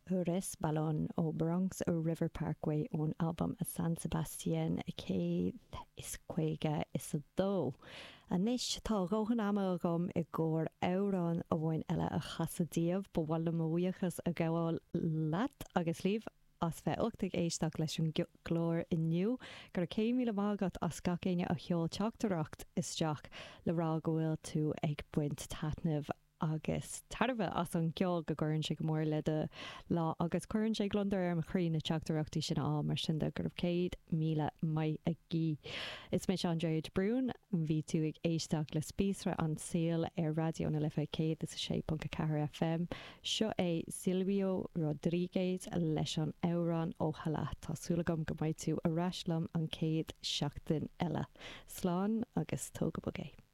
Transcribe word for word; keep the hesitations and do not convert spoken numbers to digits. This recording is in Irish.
Resbalón ó Bronx River Parkway ón albam a San Sebastian céad is caoga is a dó. Anois tá dóthain ama agam i gcomhair amhrán amháin eile a chasadh daoibh ba mhaith liom mo bhuíochas a ghabháil leat agus libh as bheith ucht ag éisteacht leis an gclár inniu, gur cé míle maith agat gach éinne a sheol teachtaireacht isteach le rá go bhfuil tú ag baint taitneamh agus tairbhe as an gceol go gcuireann sé go mór le do lá agus cuireann sé gliondar ar mo chroí na teachtaireachtaí sin á mar sin de go raibh céad míle maith agaibh. Is mé Andrea de Brún bhí tú ag éisteacht le Spíosra an tSaoil ar Raidió na Life céad is a sé ponc a ceathair FM. Seo é Silvio Rodríguez leis an amhrán Ojalá Tá súil agam go mbeidh tú ar ais liom an chéad seachtain eile. Slán agus tóg go bog é.